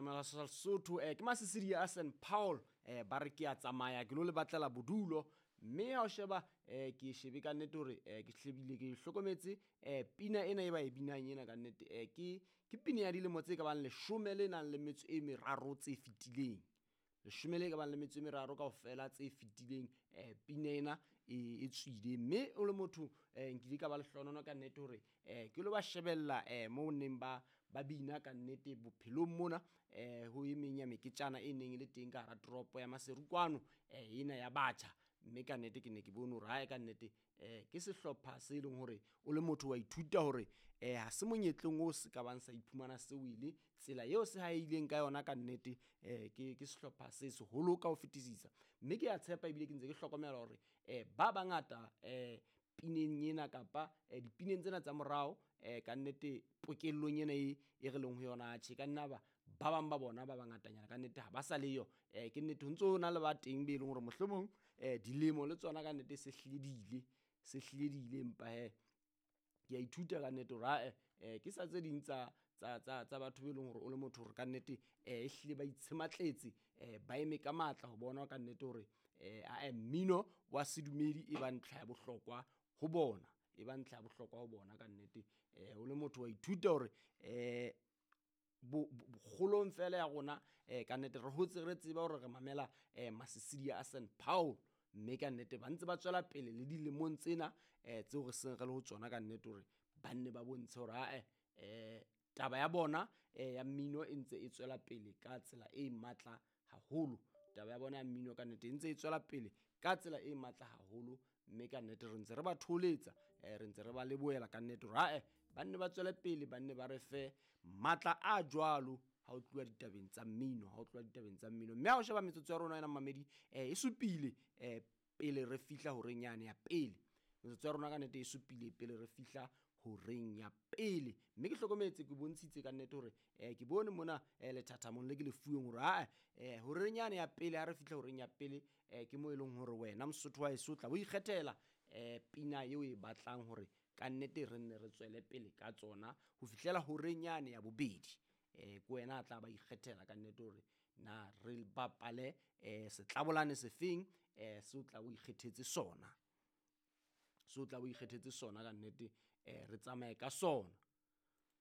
Seyalemoya sa Lesotho. Ke Masisidi a St Paul, ba re ke a tsamaya ke lo le batlela bodulo. Mme ha o sheba ke e shebe ka nnete hore ke hlebile ke hlokometse pina ena e ba e binang ena ka nnete, ke pina ya dilemo tse ka bang 13 le nang le metso e meraro tse fetileng. 10 le ka bang le metso e meraro kaofela tse fetileng, pina ena e tswile. Mme o le motho, nkile ka ba lehlohonolo ka nnete hore ke lo ba shebella moo neng ba bina ka nnete bophelong mona, ho e meng ya meketjana e neng e le teng ka hara toropo ya Maseru kwano, ena ya batjha. Mme ka nnete ke ne ke bone hore hae ka nnete, ke sehlopha se leng hore o le motho wa ithuta hore ha se monyetleng o se ka bang sa iphumana se wele tsela eo se haileng ka yona ka nnete, ke sehlopha se seholo ka ho fetisisa. Mme ke a tshepa ebile ke ntse ke hlokomela hore ba bangata pineng ena kapa dipineng tsena tsa morao, ka nnete pokellong ena e re leng ho yona, tjhe ka nna ba bang ba bona ba bangatanyana ka nnete ha ba sa leyo. Ke nnete ho ntso ho na le ba teng be leng hore mohlomong dilemo le tsona ka nnete se hlile di ile, se hlile di ile, empa he ke a ithuta ka nnete hore ae, ke sa tse ding tsa batho be leng hore o le motho hore ka nnete, e hlile ba itshematletse, ba eme ka matla ho bona ka nnete hore ae mmino wa sedumedi e ba ntlha ya bohlokwa ho bona, e ba ntlha ya bohlokwa ho bona ka nnete. O le motho wa ithuta hore kgolong fela ya rona, ka nnete re hotse re tseba hore re mamela Masisidi a St Paul, mme ka nnete ba ntse ba tswela pele le dilemong tsena tseo re seng re le ho tsona ka nnete hore ba nne ba bontshe hore ae, taba ya bona ya mmino e ntse e tswela pele ka tsela e matla haholo. Taba ya bona ya mmino ka nnete e ntse e tswela pele ka tsela e matla haholo, mme ka nnete re ntse re ba tholetsa, re ntse re ba lebohela ka nnete hore ae ba nne ba tswele pele, ba nne ba re fe matla a jwalo ha o tluwa ditabeng tsa mmino, ha o tluwa ditabeng tsa mmino. Mme ha o sheba metsotso ya rona ena mamedi, e supile pele re fihla horeng yane ya pele. Metsotso ya rona ka nnete e supile pele re fihla horeng ya pele. Mme ke hlokometse, ke bontshitse ka nnete hore ke bone mona lethathamong le ke le fuweng hore ae, horeng yane ya pele, ha re fihla horeng ya pele, ke mo e leng hore wena Mosotho wa heso o tla bo ikgethela pina eo e batlang hore ka nnete re nne re tswele pele ka tsona ho fihlela horeng yane ya bobedi. Ke wena a tla ba ikgethela ka nnete hore na re bapale setlabolane sefeng, se o tla o ikgethetse sona, se o tla o ikgethetse sona ka nnete, re tsamaye ka sona.